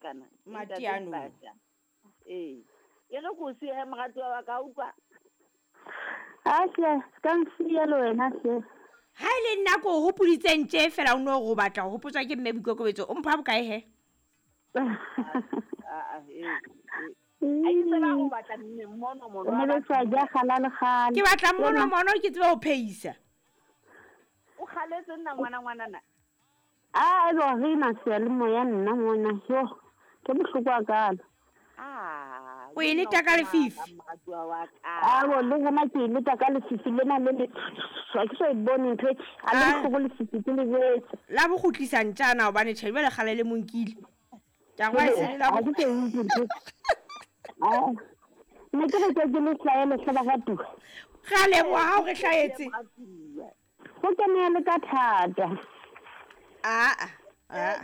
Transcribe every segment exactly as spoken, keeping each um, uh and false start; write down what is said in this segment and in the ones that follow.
kana. Matiano. Ee. E re ko siya moratuwa wa ka utlwa. A hle, ka nsiya le wena hle. Ha e le nna ko o hopoditseng tje fela o no go batla go hopotswa ke mme Boikokobetso o mpha bokae he? Ah ah ee. A itse ba go batla mmono mono. Mme le tswa ja gala le gala. Ke batla mmono mono ke tsebe ho phehisa. O kgaletse nna ngwana ngwana na. A e bo re na se le moya nna mona yo. Ke bohloko a kana. Ah. O e leta ka lefifi. A bo le hona ke leta ka lefifi lena le le. Ke so e bone ntho e. A le go lefifi ke le jetse. La bo kgutlisa ntjana hobane tjhe jwale kgale le monkile. Ka go e la bo ke ntho. Ah. Ne ke re ke le hlaele hle ba ratuwa. Re a leboha ha o re hlahetse. Go kene le ka thata. Ah ah.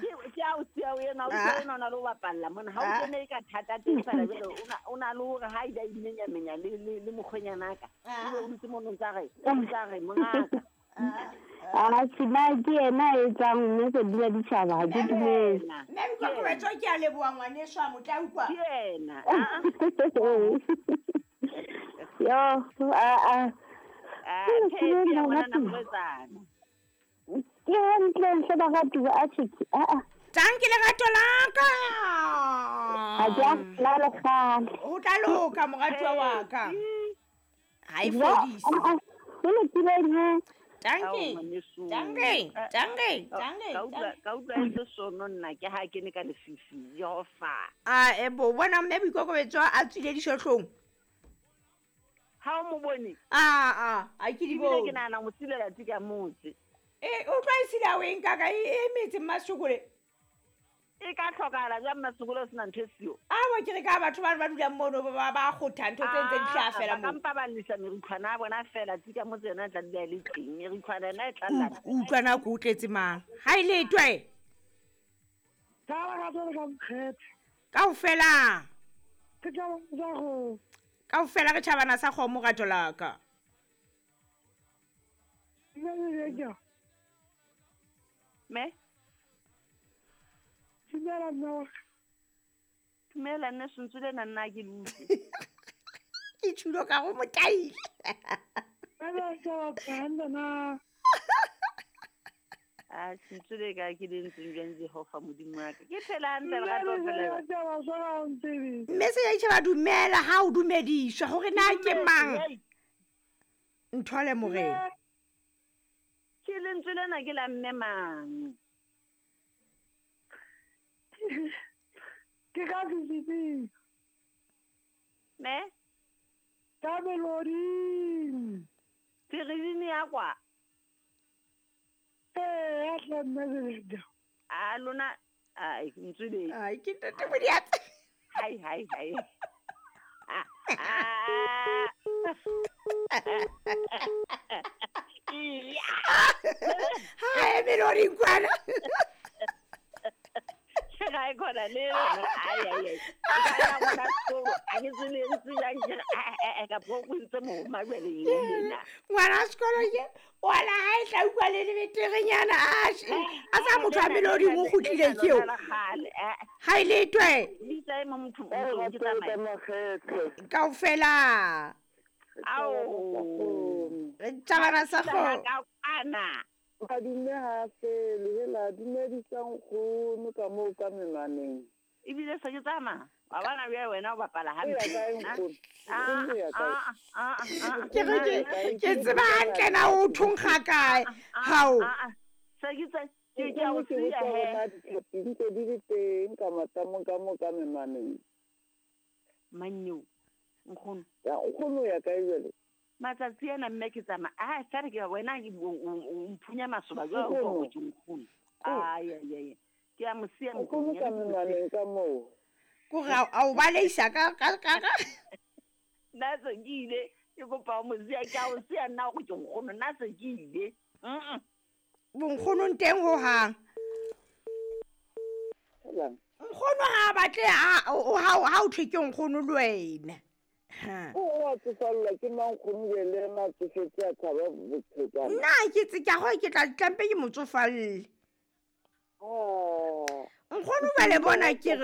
Ke a o siya o ena o siya o na le ho bapalla mona ha o kene ka thata teng fela jwale o na o na le hore ha ida imenya menya le le le mokgwenyana ka o ntse mono ntsa re ntsa re mongaka. Ah sina ke ena e tsang mme ke dula ditjhaba ha ke dumele. Mme Boikokobetso ke a leboha ngwaneso a motla utlwa. Ke ena. Yo a a ah ke ngwana na morwetsana. Ke hantle hle ba ratuwa a tjhe a a. Tanki lerato la ka. Ha ke a la le kgale. O tla loka moratuwa wa ka. Ha e fodise. Ke le tileng he. Tanki. Tanki. Tanki. Tanki. Ka utlwa ka utlwa e sono nna ke ha ke ne ka lefifi Jehova. Ah e bo bona mme Boikokobetso a tswile dishohlong. Ha o mo bone? Ah ah, a ke di bone. Ke nahana mo silela tika motse. E o tla isila o eng kaka e metse Mmasokole. E ka tlhokala jwa Mmasokole o sena ntho e siyo. A bo ke re ka batho ba ba dulang mono ba ba kgotha ntho tse ntse di hlaha fela mo. Ba kampa ba lisa merikhwana a bona fela tika motse yona e tla dula e le teng. Merikhwana yona e tla llana. O utlwa na ko o tletse mang? Ha e letwe. Ka ba ka ka mkgethe. Kaofela. Ke tla ba go. Kaofela re tjhabana sa kgomo rato la ka. Me? Dumela mme wa ka. Dumela nne sentse le nna nna ke le utlwe. Ke tshilo ka go motaile. A sentse le ka ke le ntseng jwang Jehova Modimo wa ka. Ke phela hantle lerato fela. Mme se ya itjheba dumela ha o dumediswa hore na ke mang. Nthole morena. Ke lentswe lena ke la mme mang? Ke ka sesitsing. Me? Ka meloding. Feredini ya kwa? Ee, ya tla mme Seleda. A lona, ai, ntswe le. Ai, ke ntate Modiatse. Hai, hai, hai. Ah, ah. Hai, meloding kwana. Ke ga e khona le ai ai ai. Ka ya ngwana sekolo, a ke tsebe ntse jang ke re, a ka bo o ntse mo majwele ena. Ngwana sekolo ke wala ha e tla utlwa le lebeterenyana a a sa motho a meloding o kgutlile ke eo. Ha e letwe. Bitsa e mo motho o ke tsamaya. Kaofela. Ao. Re tjhabana sa kgomo. Ka ana. Madume ha fele hela dumedisang nkgono ka moo ka menwaneng. Ebile se ke tsamaya. Wa bona bjale wena o bapala hampe. Ah ah ah ah. Ke re ke ke tseba hantle na o thonkga kae. Hao. Se ke tsa ke ke a o siya he. Ntse di le teng ka matamong ka moo ka menwaneng. Mannyo. Nkgono. Ya nkgono ya kae jwale? Matsatsi ana mme ke tsamaya. Ah, fela ke wena ke o mphunya masoba jwalo o go ke nkgono. Ai ai ai. Ke a mo siya nkgono ka menwaneng ka moo. Ko ga a o baleisa ka ka ka. Nna se ke ile ke kopa o mo siya ke a o siya nna go ke nkgono nna se ke ile. Mm. Bonkgono nteng ho hang. Nkgono ha batle ha ha o thwe ke nkgono le wena. O a tsofalla ke mang nkgono le ena tsofetse a tshaba bophelo. Nna ke tse ke go ke tla tlampe ke motsofalle. Oh. Nkgono ba le bona ke re